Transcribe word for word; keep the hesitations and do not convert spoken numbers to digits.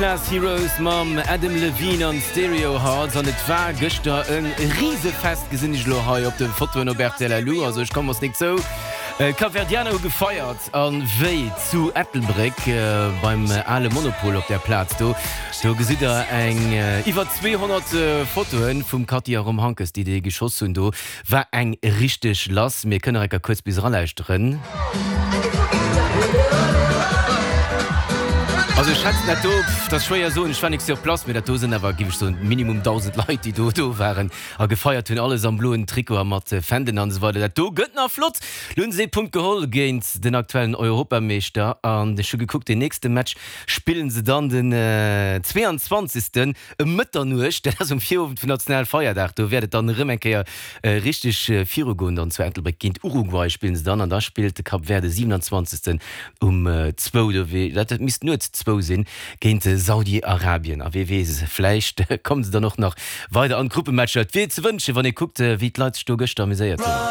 Class Heroes mam Adam Levine an Stereo Hearts an et war gëschter e Risefest gesinn ech lo hei op de Fotoen op R T L L U, also ech komme mat zou. Kapverdianer hu gefeiert an wéi zu Ettelbréck beim ale Monopol op der Plaz do. Do gesitt der eng iwwer zweehonnert Fotoen vum Cathy a Rom Hankes, déi déi geschoss hunn. Do war eng richteg lass. Mir kënne enker kuerz bis eralauschteren. Also ech schätzen dat do, dat ass schwéier soen, ech war nik sur place, mee dat do sinn awer, géif ech soen, minimum dausend Leit, déi do do waren a gefeiert hunn, alles am bloen Trikot a mat Fändelen an esou weider. Dat do gëtt nach flott. Lo hunn se ee Punkt geholl géint den aktuellen Europameeschter an ech hu gekuckt, deen nächste Match spillen se dann den zweeanzwanzegsten ëm Mëtternuecht, dat ass um Virowend vum Nationalfeierdag, do wäert et dann erëm eng Kéier richteg virugoen, dann zu Ettelbréck géint Uruguay spillen se dann an da spillt de Cap Vert de siewenanzwanzegsten um zwou, do wéi dat misst nuets zwou sinn, géint Saudi-Arabien. A wee weess, vläicht kommen se dann och nach weider an d'Gruppematcher. Et wier ze wënschen, wann ee kuckt, wéi d'Leit sech do gëschter amuséiert hunn.